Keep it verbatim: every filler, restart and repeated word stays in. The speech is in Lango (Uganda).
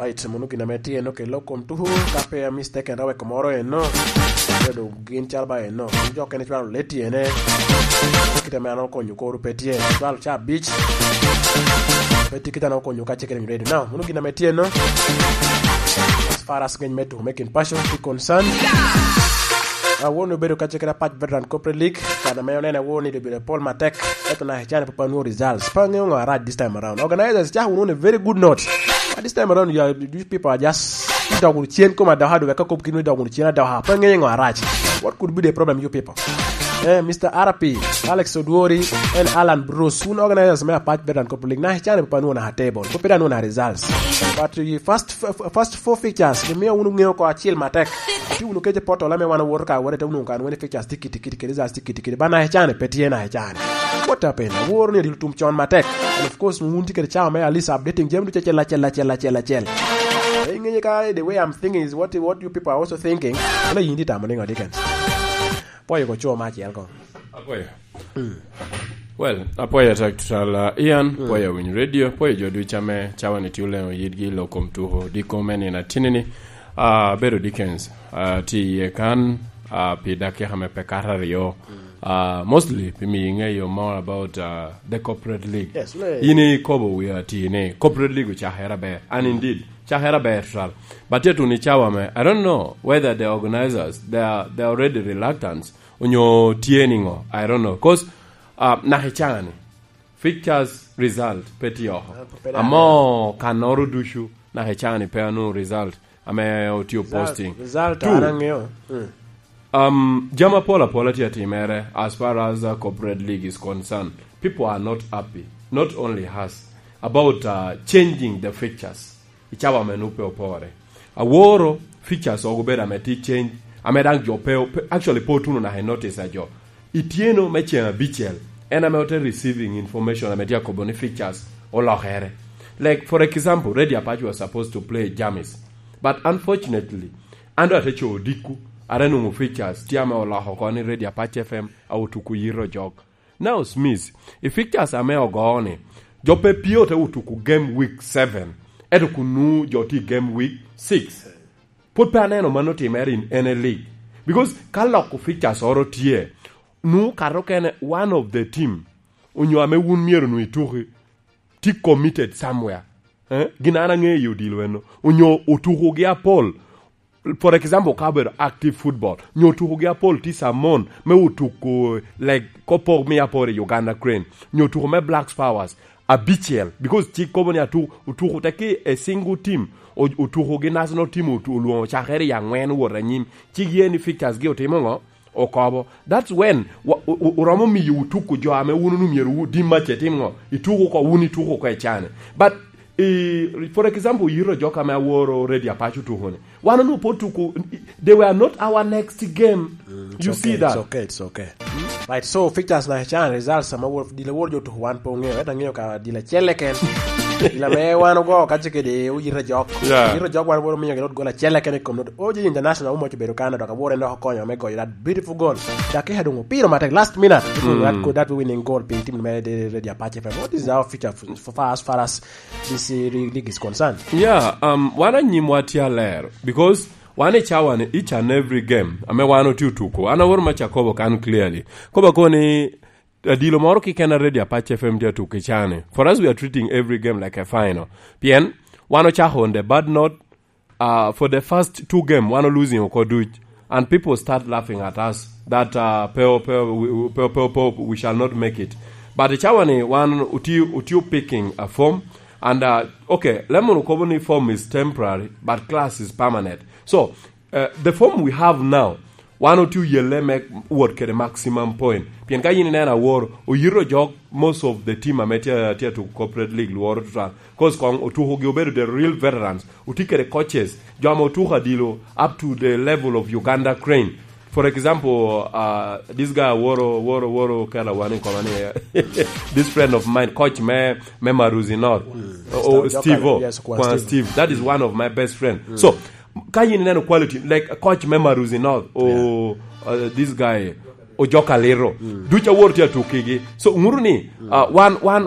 Right, mono gin ame tye eno kelo kom tuku, ka pe a mistake en raweko moro eno. Bedo gin calo ba eno. Jo kene cwalo le tyene. Kit ame an okonyo koro pe tye. Cwalo ca abic. Pe tye kit an okonyo ka checking radio. Now, mono gin ame tye eno. As far as ngeny me tuku me kin passion, tye concern. Awon obedo ka checking a patch veteran corporate league. Kan ame onene awon ni dobedo pol matek. Eto na hecane pe pa nwo results. Pa ngeyo ngo arac this time around. Organizers, chako wunu on a very good note. But this time around, you, are, you people are just dog wunu cien kom adoka, dwe ka kop kinu dog wunu cien adoka. Pa ngeyo ngo arac. What could be the problem, you people? Eh, Mister R P, Alex Odwori, and Alan Bruce, wun organizers me Apac Veteran Cup League, na hecane pe pa nwo na table. Pe pe da nwo na results. But the first, f-, f-, first four fixtures, gimiyo wunu ngeyo ko acil matek. Ati wunu kece portal ame wan owoto ka wore te wunu kan wen fixtures tye kiti kiti, kiti results tye kiti kiti. Ba na hecane pe tye na hecane. What happened? Aworo ni odilo tum con matek. And of course, wun tye kede cawa me at least updating jami ducu acel, acel, acel, acel, acel. Eh, ingeyo ka the way I'm thinking is what, what you people are also thinking. Wala yin di tamo ni ngo, Dickens? Pwoyo ko co ma acel ko. Apwoyo. Well, apwoyo atek tutwal, uh, Ian, pwoyo Winy Radio, pwoyo jo ducu ame cawa ni tye oleno yitgi i lok kom tuko, di kom en in atinini. Uh, Bedo Dickens, uh, tye iye kan, uh, pi dakika me pe kato aryo. Uh, mostly, pi miyo ingeyo more about, uh, the corporate league. Yes, le- In ikobo wi ati ni, corporate league ocakere aber. And indeed, cakere aber tutwal. But yet wun i cawa me, I don't know whether the organizers, they are, they are already reluctant, onyo tye ni ngo, I don't know. 'Cause, uh, naka i cani, fixtures result pe tye oko. Ah, pe dano. Amo kanoro ducu, naka i cani pe anongo result. Ame otye posting. Result, result, an angeyo. Mm. Um, jami apol apola tye atimere as far as, uh, corporate league is concerned. People are not happy, not only us, about, uh, changing the fixtures. I cawa ame nu pe opore. Aworo fixtures ogo bedo ame tye change, ame daŋ jo pe, pe, actually pe otuno naka i notice a jo. Ityeno me ceng abicel, en ame ote receiving information ame tye akobo ni fixtures olokere. Like, for example, Radio Apache was supposed to play Jamis. But unfortunately, an do ate co odikku, ate nwoŋo fixtures tye ame oloko oko ni Radio Apache F M a otuko yito jok. Now, Smith, i fixtures ame ogo ni, jo pe pye ote otuko game week seven, eto kun nu jo tye i game week six. Pwod pe aneno mano timere in any league. Because ka loko fixtures oro tye, nu kato kene one of the team, onyo ame wun myero nu ituki, tye committed somewhere. Eh? Gin an aŋeyo i odilo eno. Onyo otukogi apol. For example, ka obedo active football, nyo otukogi apol tye Samon, me otuko, like, kopok mi apol i Uganda Crane, nyo otuko me Blacks Powers, abicel, because cik kobo ni atu-, otuko te ki a single team, o-, otukogi national team otu-, olwoŋo cakere i aŋwen wot anyim, cik ye ni fixtures gi otimo ŋo? Okobo. That's when wa-, o-, o-, oromo miyo otuko jo ame wun onwoŋo myero wu-, dim mac etim ŋo? Ituko oko, wun ituko oko i cani. But, eh, for example, yito jok ame aworo Radio Apache otuko ni. Wan onwoŋo pe otuko, they were not our next game. Mm, it's You okay, see that? It's okay, it's okay. Right, so fixtures na chan results ama wor-, dilo wor jo tuko wan pe ongeyo, ento angeyo ka dilo acel eken. Dilo ame wan ogo ka ce kede oyito jok. Yeah. Oyito jok wan woro miyo gilot gol acel eken i kom not. Oji International omoc obedo kan, dok awor en dok okonyo me goyo that beautiful goal. Dakika doŋ opiro matek, last minute. Mm. That, that winning goal pi team me de, de, de Apache F M. What is our future for, for far, as far as this, uh, league is concerned? Yeah, um, wan anyimwa tye aler, because wan i cawa ni each and every game ame wan otye otuko, an aworo ma Jacobo kan clearly. Kobo koni, adilo moro keken a Radio Apache F M tye atuko i cani. For us, we are treating every game like a final. Pien, wan ocako on the bad note, uh, for the first two game, wan o losing oko duc. And people start laughing at us that, uh, pe, pe, we, pe, pe, pe, we shall not make it. But i cawa ni wan uti, uti picking a form. And, uh, okay, lemon okobo ni form is temporary, but class is permanent. So, uh, the form we have now, wan otye oyelle me wot kede maximum point. Pien ka yin ineno awor, oyito jok most of the team ame tye, tye atuko corporate league lworo tutwal. 'Cause kong otukogi obedo the real veterans. Otye kede coaches, jo ame otuko adilo up to the level of Uganda Crane. For example, uh, this guy Woro, Woro, Woro Kela Wani Komani, this friend of mine, coach me, me Maruzi North. Mm. Oh, Mister Steve, Jokala, oh, yes, Kwan Kwan Steve. Steve. That is one of my best friend. Mm. So, ka yin ineno quality, like, coach me Maruzi North, or, yeah, uh, this guy, Ojoka Liro. Mm. Duca Woro tye atukigi. So, nguru ni, mm, uh, one, one,